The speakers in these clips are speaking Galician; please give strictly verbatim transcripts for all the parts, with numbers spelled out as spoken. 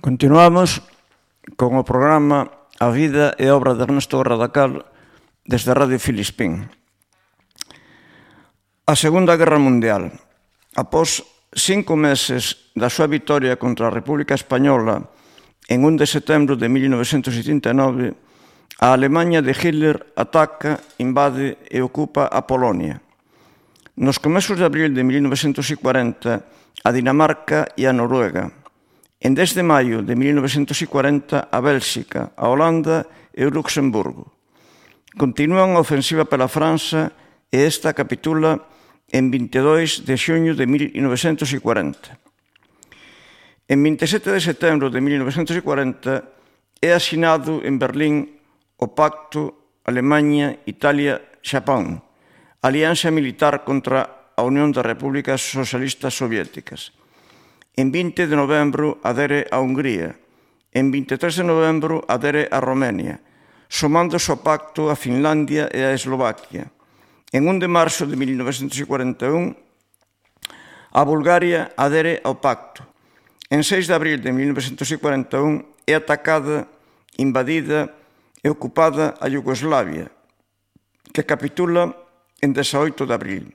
Continuamos con o programa A vida e obra de Ernesto Radacal desde Radio Filispín. A Segunda Guerra Mundial. Após cinco meses da súa vitoria contra a República Española en un de setembro de mil novecentos setenta e nove, a Alemanha de Hitler ataca, invade e ocupa a Polonia. Nos comezos de abril de mil novecentos cuarenta, a Dinamarca e a Noruega. En dez de maio de mil novecentos cuarenta, a Bélxica, a Holanda e o Luxemburgo. Continúan a ofensiva pela França e esta capitula en vinte e dois de xuño de mil novecentos cuarenta. En vinte e sete de setembro de mil novecentos cuarenta é asinado en Berlín o Pacto Alemanha-Italia-Xapón, alianza militar contra a Unión das Repúblicas Socialistas Soviéticas. En vinte de novembro adere a Hungría. En vinte e tres de novembro adere a Romania, somándose ao pacto a Finlandia e a Eslovaquia. En un de marzo de mil novecentos cuarenta e un, a Bulgaria adere ao pacto. En seis de abril de mil novecentos cuarenta e un é atacada, invadida e ocupada a Iugoslavia, que capitula en dezaoito de abril.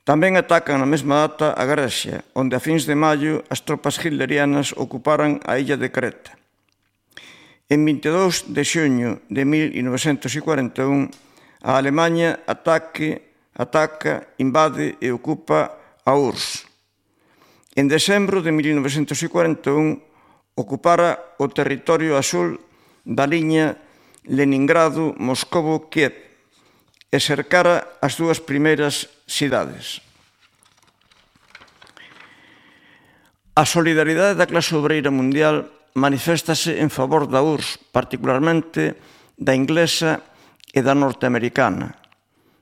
Tamén atacan na mesma data a Grecia, onde a fins de maio as tropas hitlerianas ocuparan a illa de Creta. En vinte e dous de xuño de mil novecentos cuarenta e un, a Alemanha ataque, ataca, invade e ocupa a U R S S. En decembro de mil novecentos cuarenta e un, ocupara o territorio azul da liña Leningrado-Moscovo-Kiev e cercara as dúas primeiras cidades. A solidaridade da clase obreira mundial maniféstase en favor da U R S S, particularmente da inglesa e da norteamericana.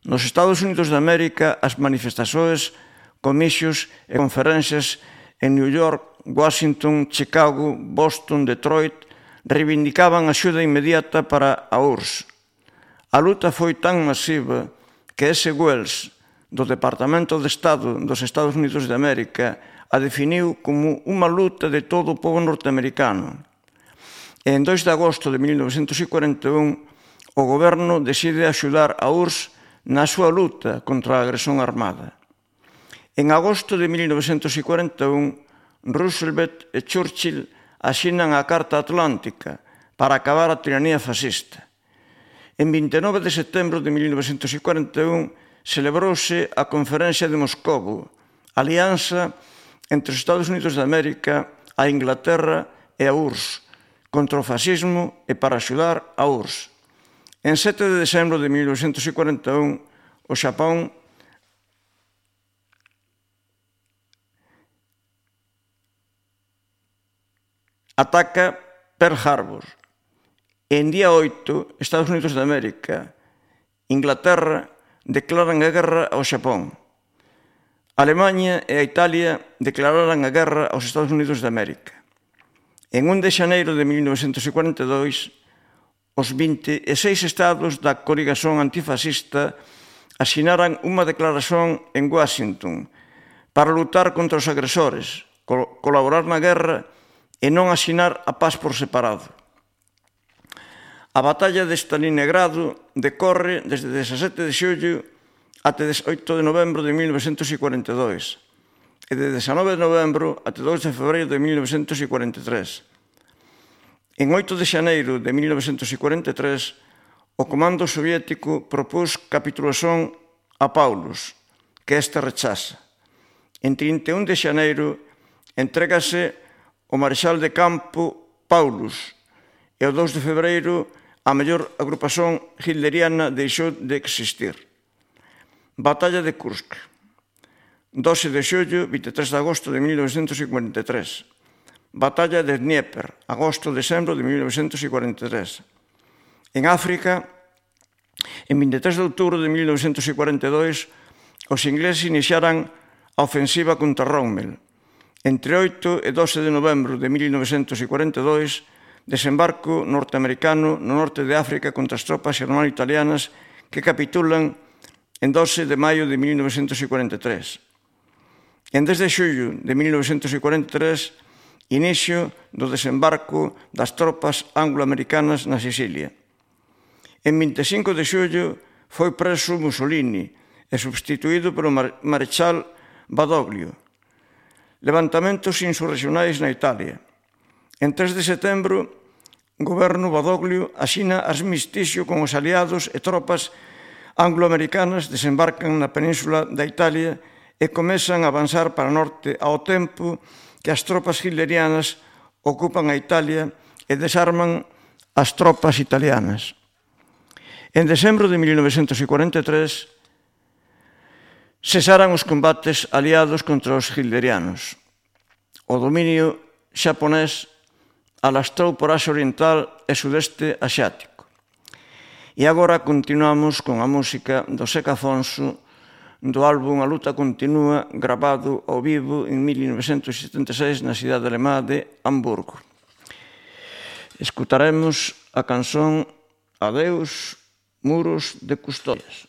Nos Estados Unidos de América, as manifestações, comicios e conferencias en New York, Washington, Chicago, Boston, Detroit reivindicaban axuda inmediata para a U R S S. A luta foi tan masiva que ese Wells, do Departamento de Estado dos Estados Unidos de América, a definiu como unha luta de todo o povo norteamericano. E en dois de agosto de mil novecentos cuarenta e un, o goberno decide axudar a U R S S na súa luta contra a agresión armada. En agosto de mil novecentos cuarenta e un, Roosevelt e Churchill asinan a Carta Atlántica para acabar a tiranía fascista. En vinte e nove de setembro de mil novecentos cuarenta e un celebrouse a Conferencia de Moscovo, alianza entre os Estados Unidos de América, a Inglaterra e a U R S S, contra o fascismo e para axudar a U R S S. En sete de decembro de mil novecentos cuarenta e un, o Xapón ataca Pearl Harbor. En día oito, Estados Unidos de América, Inglaterra declaran a guerra ao Xapón. A Alemanha e a Italia declararan a guerra aos Estados Unidos de América. En un de xaneiro de mil novecentos cuarenta e dois, os vinte e seis estados da coligación antifascista asinaran unha declaración en Washington para lutar contra os agresores, colaborar na guerra e non asinar a paz por separado. A batalla de Stalingrado decorre desde dezasete de xullo até dezaoito de novembro de mil novecentos cuarenta e dois e de dezanove de novembro até dous de febreiro de mil novecentos cuarenta e tres. En oito de xaneiro de mil novecentos cuarenta e tres, o comando soviético propús capitulación a Paulus, que este rechaza. En trinta e un de xaneiro entrégase o marexal de campo Paulus e o dous de febreiro a mellor agrupación hitleriana deixou de existir. Batalla de Kursk. doce de xullo, vinte e tres de agosto de mil novecentos cuarenta e tres. Batalla de Dnieper, agosto-decembro de mil novecentos cuarenta e tres. En África, en vinte e tres de outubro de mil novecentos cuarenta e dois, os ingleses iniciaran a ofensiva contra Rommel. Entre oito e doce de novembro de mil novecentos cuarenta e dois, desembarco norteamericano no norte de África contra as tropas germano-italianas que capitulan en doce de maio de mil novecentos cuarenta e tres. En dez de xullo de mil novecentos cuarenta e tres inicio do desembarco das tropas anglo-americanas na Sicilia. En vinte e cinco de xullo foi preso Mussolini e substituído polo marechal Badoglio. Levantamentos insurreccionais na Italia. En tres de setembro, o goberno Badoglio asina armistixio con os aliados e tropas anglo-americanas desembarcan na península da Italia e comezan a avanzar para o norte ao tempo que as tropas hitlerianas ocupan a Italia e desarman as tropas italianas. En decembro de mil novecentos cuarenta e tres, cesaran os combates aliados contra os hitlerianos. O dominio xaponés alastrou por Asia Oriental e Sudeste Asiático. E agora continuamos con a música do Zeca Afonso do álbum A luta continúa, grabado ao vivo en mil novecentos setenta e seis na cidade alemá de Hamburgo. Escutaremos a canción Adeus, muros de custodias.